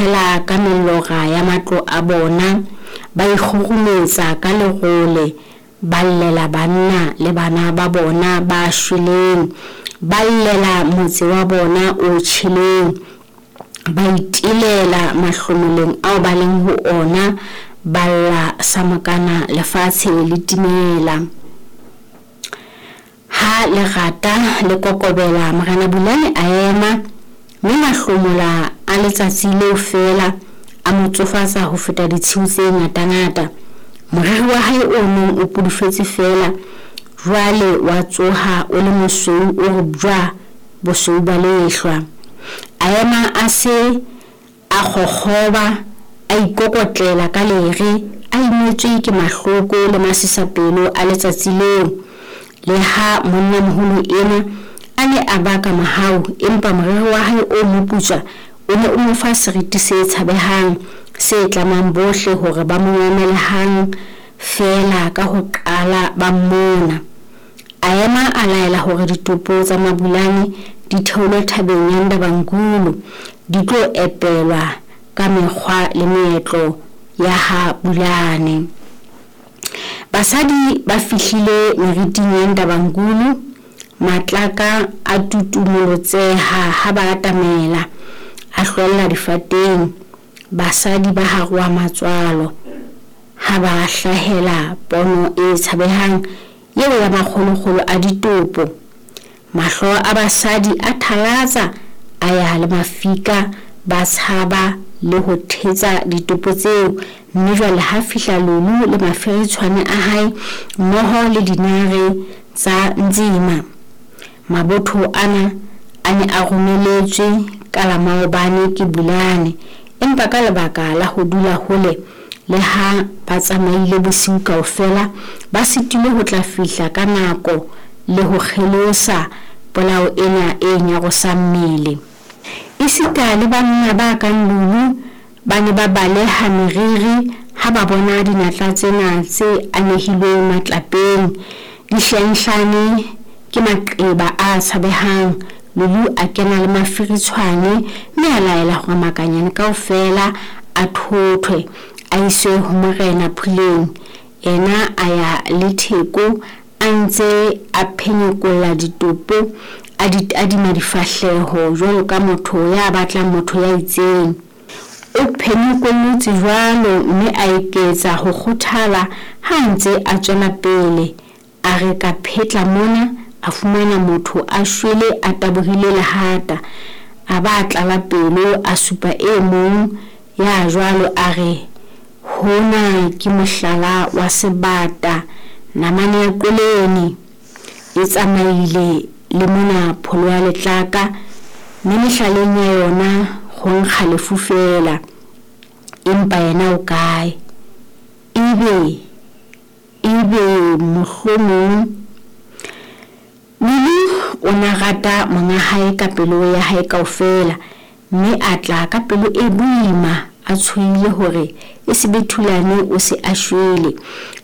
Itshela ka melora ya matlo a bona, ba ikgurumetsa ka lerole, ba llela banna le bana ba bona ba shweleng, ba llela motse wa bona o tjheleng, ba itelela mahlomoleng ao ba leng ho ona, ba lla sa mokana lefatshe le timela. Ha lerata le kokobela, Morena Bulane a ema, mme mahlomola a letsatsi leo feela a mo tsofatsa ho feta ditshiu tse ngatangata. Moriri wa hae o neng o pudufetse feela jwale wa tsoha o le mosweu o re bjwa, bosweu ba lehlwa. A ema a se a kgokgoba, a ikokotlela ka lere, a imetswe ke mahloko le masisapelo a letsatsi leo. Le ha monnamoholo enwa a ne a baka mohau, empa moriri wa hae o moputswa o ne o mo fa seriti se tshabehang, se tlamang bohle hore ba mo mamele hang feela ka ho qala ba mmona. A ema a laela hore ditopo tsa Mabulane di theolwe thabeng ya Ndabankulu, di tlo epelwa ka mekgwa le meetlo ya ha Bulane. Basadi ba fihlile meriting ya Ndabankulu, matlaka a tutumolotseha ha ba atamela, a hlwella difateng. Basadi ba haroha matswalo ha ba hlahela pono e tshabehang eo ya makgolokgolo a ditopo. Mahlo a basadi a thalatsa a ya le mafika, ba tshaba le ho thetsa ditopo tseo, mme jwale ha fihla Lulu le mafiritshwane a hae mmoho le dinare tsa Nzima. Mabotho ana a ne a romeletswe ka la maobane ke Bulane, empa ka lebaka la ho dula hole le ha ba tsamaile bosiu kaofela, ba sitilwe ho tla fihla ka nako le ho kgelosa polao ena e nyarosang mmele. Esita le banna ba kang Lulu ba ne ba baleha meriri ha ba bona dinatla tsena tse anehilweng matlapeng, di hlenhlane ke maqeba a tshabehang. Lulu a kena le mafiritshwane mme a laela hore makanyane kaofela a thothwe, a iswe ho Morena Puleng. Yena a ya le Theko a ntse a phenyekolla ditopo, a di tadima difahleho jwalo ka motho ya batlang motho ya itseng. O phenyekollotse jwalo mme a eketsa ho kgothala ha a ntse a tswela pele. A re ka phetla mona, a fumana motho a shwele a tabohile lehata. A ba a tlala pelo, a supa e mong ya jwalo a re, Hona ke mohlala wa sebata, namane ya qwelene. E tsamaile le mona pholo ya letlaka, mme mehlaleng ya yona ho nkga lefu feela. Empa yena o kae? Ebe, ebe mohlomong. Lulu o na rata monga hae ka pelo ya hae kaofela, mme a tla ka pelo e boima a tshohile hore e se be Thulane o se a shwele.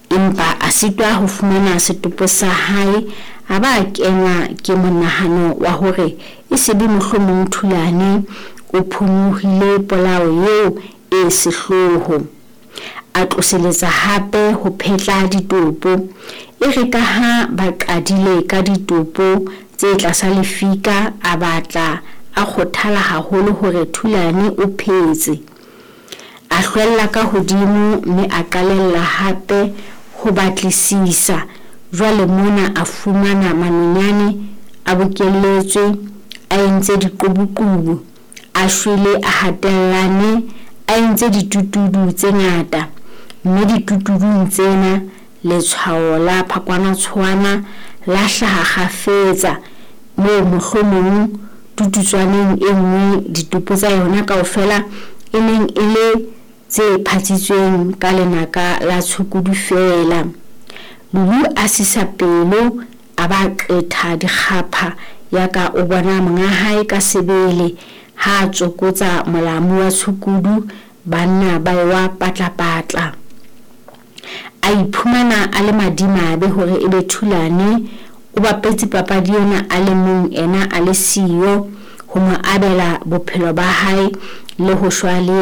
Empa a sitwa ho fumana setopo sa hae, a ba a kenwa ke monahano wa hore e se be mohlomong Thulane o phonyohile polao eo e sehloho. A tloseletsa hape ho phetla ditopo. Ere ka ha ba qadile ka ditopo tse tlasa lefika, a batla a kgothala haholo hore Thulane o phetse. A hlwella ka hodimo mme a qalella hape ho batlisisa. Jwale mona a fumana manonyane a bokelletswe, a entse diqubuqubu, a shwele a hatellane, a entse ditutudu tse ngata. Mme ditutudung tsena letshwao la phakwanatshwana la hlaha kgafetsa, moo mohlomong tututswaneng e nngwe ditopo tsa yona kaofela e neng e le tse phatsitsweng ka lenaka la tshukudu feela. Lulu a sisa pelo a ba a qetha dikgapha yaka o bona monga hae ka sebele ha a tsokotsa molamu wa tshukudu, banna ba ewa patlapatla. A iphumana a le madimabe hore ebe Thulane o bapetse papadi ena a le mong ena a le siyo ho mo abela bophelo ba hae le ho shwa le.